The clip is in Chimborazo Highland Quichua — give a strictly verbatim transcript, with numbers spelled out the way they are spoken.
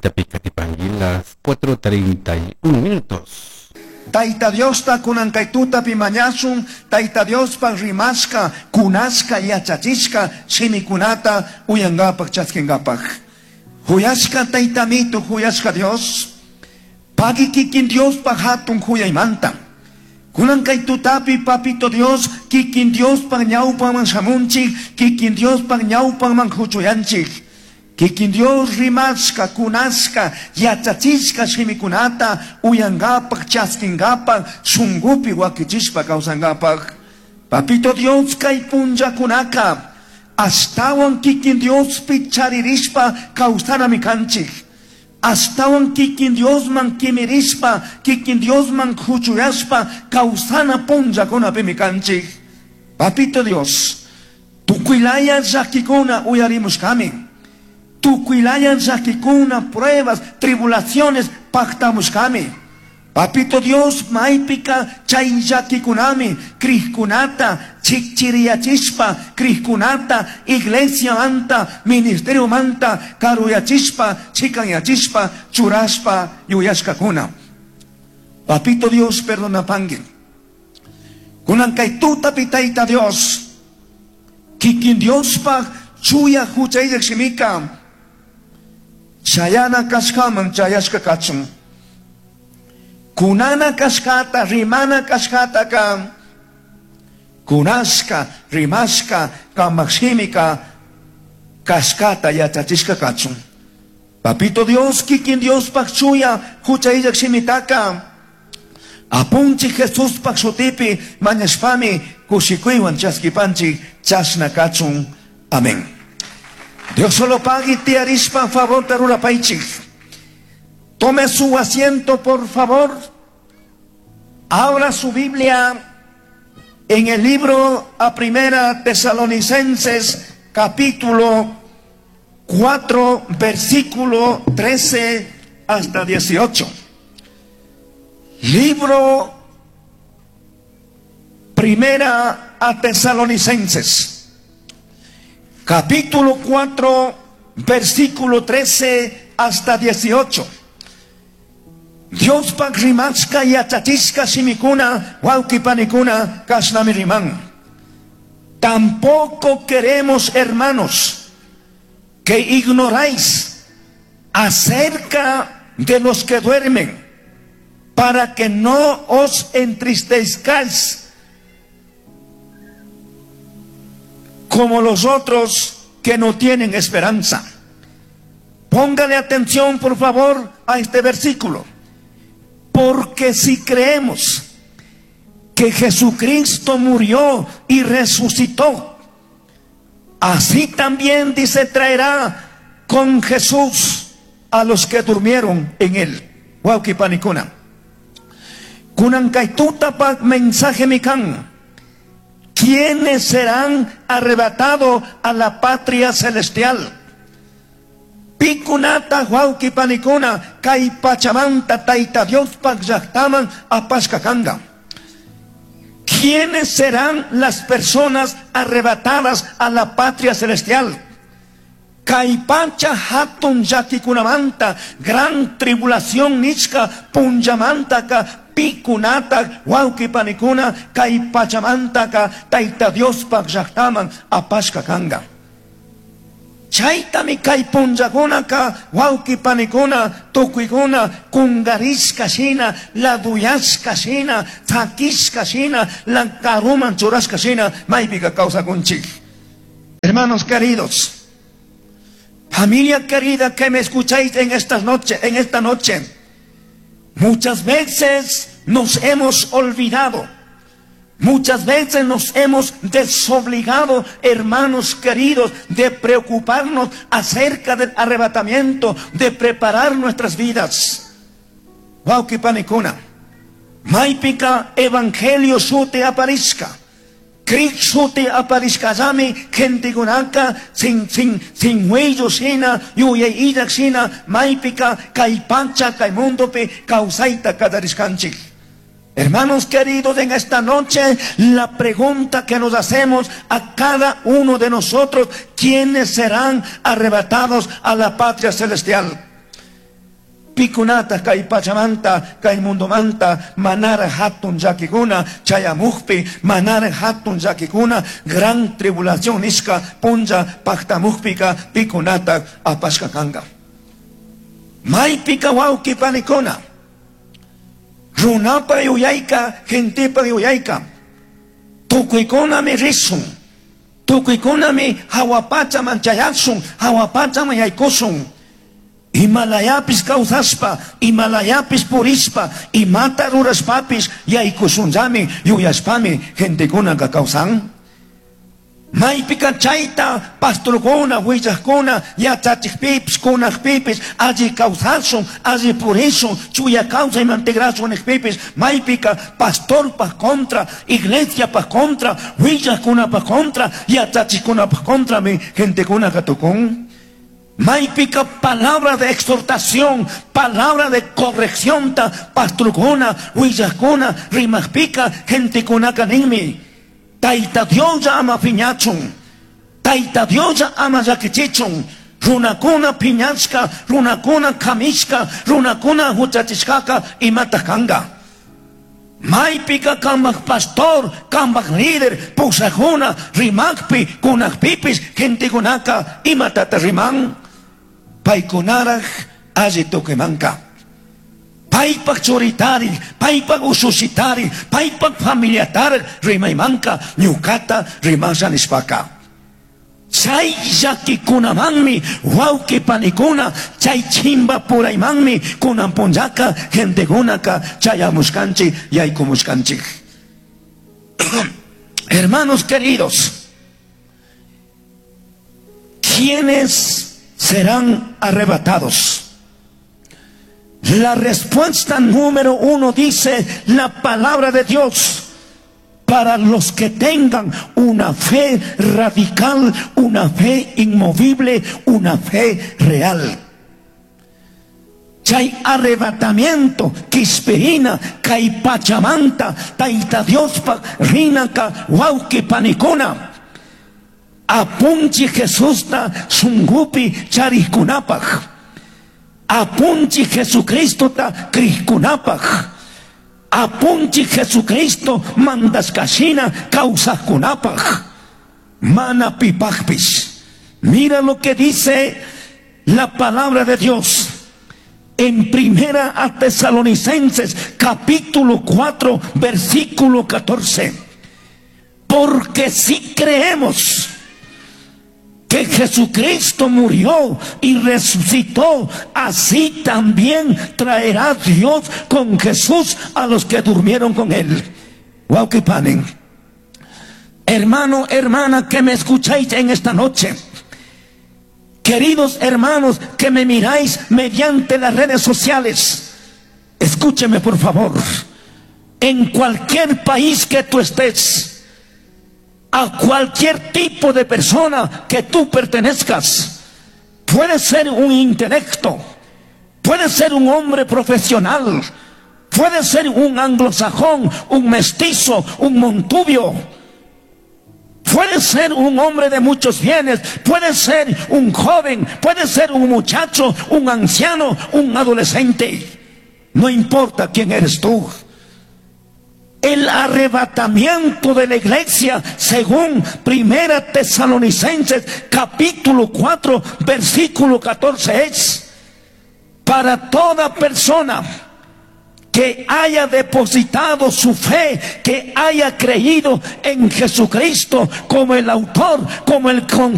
Tapicatipangui, las cuatro treinta y un minutos. Taita Diosta kunan kay tutapi mañashun, Taita Diospa rimashka, kunashka yachachishka shimikunata uyangapak chaskingapak. Huyashka Taita mito, huyashka Dios, pagi kikin Diospa hatun huyaymanta. Kunan kay tutapi papito Dios, kikin Diospa ñawpaman shamunchik, kikin Diospa ñawpaman huchuyanchik. Kikin Dios rimashka, kunashka, yachachishka shimikunata uyangapak, chaskingapak, shungupi wakichishpa kawsangapak. Papito Dios kay punllakunaka, ashtawan kikin Diospi charirishpa kawsanami kanchik. Ashtawan kikin Diosman kimirishpa, kikin Diosman huchuyashpa kawsana punllakunapimi kanchik. Papito Dios, tukuylaya llakikuna uyarimushkami. Tukuylaya llakikuna, pruebas, tribulaciones pactamushkami. Papito Dios, maypika chay llakikunami, crijkunata chikchiriyachishpa, crijkunata iglesia manta, ministerio manta, karuyachishpa, chikanyachishpa, churashpa, yuyashkakuna. Papito Dios, perdona pangui. Kunan kay tutapi Tayta Dios, kikin Diospa chuya huchayllak shimika, chayana kashkaman chayashka kachun. Kunana kashkata, rimana kashkataka, kunashka, rimashka, kamakshimika, kashkata yachachishka kachun. Papito Dios, kikin Dios pak chuya, huchayllak shimitaka, apunchi Jesús pak shutipi, mañashpami, kushikuywan chaskipanchi, chashna kachun. Amén. Dios solo pagui tiarishpa favor tarurapaichik. Tome su asiento, por favor. Abra su Biblia en el libro a Primera Tesalonicenses, capítulo cuatro, versículo trece hasta dieciocho. Libro Primera a Tesalonicenses, capítulo cuatro, versículo trece hasta dieciocho. Dios pak rimashka yachachishka shimikuna, wawqi panikuna, kashnami riman. Tampoco queremos, hermanos, que ignoráis acerca de los que duermen, para que no os entristezcáis como los otros que no tienen esperanza. Póngale atención, por favor, a este versículo. Porque si creemos que Jesucristo murió y resucitó, así también, dice, traerá con Jesús a los que durmieron en él. Wawqi panikuna. Kunan kay tutapa mensaje mikan. ¿Quiénes serán arrebatados a la patria celestial? Pikunata wawqi panikuna kay pachamanta Tayta Diospak llaqtaman apashka kanga. ¿Quiénes serán las personas arrebatadas a la patria celestial? Kay pacha hatun llakikunamanta, gran tribulación nishka punllamantaka pikunata wawqi panikuna kay pachamantaka Tayta Diospak llaqtaman apashka kanga. Chaytami kay punllakunaka wawqi panikuna tukuykuna kungarishka shina, laduyashka shina, tzakishka shina, lankaruman churashka shina maypika kawsakunchik. Hermanos queridos, familia querida que me escucháis en esta noche, en esta noche, muchas veces nos hemos olvidado, muchas veces nos hemos desobligado, hermanos queridos, de preocuparnos acerca del arrebatamiento, de preparar nuestras vidas. Wawqi panikuna, maypika evangelio sute aparishka, Cristo sute aparishkallami, gentekunaka sin, sin, sin huello shina, yuyay illak shina, maypika kay pacha kay mundopi kawsayta kallarishkanchik. Hermanos queridos, en esta noche la pregunta que nos hacemos a cada uno de nosotros: ¿quiénes serán arrebatados a la patria celestial? Pikunata kay pachamanta, kay mundomanta, manara hatun llakikuna, chayamukpi, manara hatun llakikuna, gran tribulación nishka punlla paktamukpika, pikunata apashka kanga. Maypika wawki panikuna, runapa yuyayka, gentepa yuyayka, tukuykunami rishun, tukuykunami hawapachaman chayashun, hawapachaman yaykushun. Imalayapis kawsashpa, imalayapis purishpa, imata rurashpapis yaykushunllami yuyashpami gentekunaka kawsan. Maypika chayta pastorkuna, willaqkuna, yachachikpipis, kunaqpipis, alli kawsashun, alli purishun, chuya kawsayman tigrashun niqpipis, maypika pastorpaj contra, iglesiapaj contra, willaqkunapaj contra, yachachikkunapaj contrami gentekunaka tukun. Maypika palabra de exhortación, palabra de corrección ta pastorkuna, willaqkuna, rimaqpika gentekunaka ninmi. Tayta Dios ama piñachun, Tayta Dios ama llakichichun, runakuna piñashka, runakuna kamishka, runakuna huchachishkaka imata kanga. Maypika kambaj pastor, kambaj líder, pushajuna, rimakpi, kunakpipis, gentekunaka imatata riman. Paykunaraj alli tukumanka. Paypak churitari, paypak usushitari, paypak familiatari rimaymanka, ñukata rimasha nishpaka. Chay llakikunamanmi, wawqi panikuna, chay chimpapuraymanmi kunan punllaka gentekunaka chayamushkanchik, yaykumushkanchik. Hermanos queridos, ¿quiénes serán arrebatados? La respuesta número uno dice la palabra de Dios: para los que tengan una fe radical, una fe inmovible, una fe real. Chay arrebatamiento, quishpirina, kay pachamanta, Tayta Diospa, rinaka, wawqi panikuna. Apunchij Jesusta shungupi charijkunapaj. Apunchij Jesucristota crijkunapaj. Apunchij Jesucristo mandashkashina kawsajkunapaj. Mana pipajpish. Mira lo que dice la palabra de Dios en Primera a Tesalonicenses capítulo cuatro versículo catorce. Porque si creemos que Jesucristo murió y resucitó, así también traerá Dios con Jesús a los que durmieron con él. Wawqi pani. Hermano, hermana, que me escucháis en esta noche. Queridos hermanos que me miráis mediante las redes sociales, escúcheme por favor. En cualquier país que tú estés, a cualquier tipo de persona que tú pertenezcas, puede ser un intelecto, puede ser un hombre profesional, puede ser un anglosajón, un mestizo, un montubio, puede ser un hombre de muchos bienes, puede ser un joven, puede ser un muchacho, un anciano, un adolescente. No importa quién eres tú. El arrebatamiento de la iglesia, según Primera Tesalonicenses capítulo cuatro, versículo catorce, es para toda persona que haya depositado su fe, que haya creído en Jesucristo como el autor, como el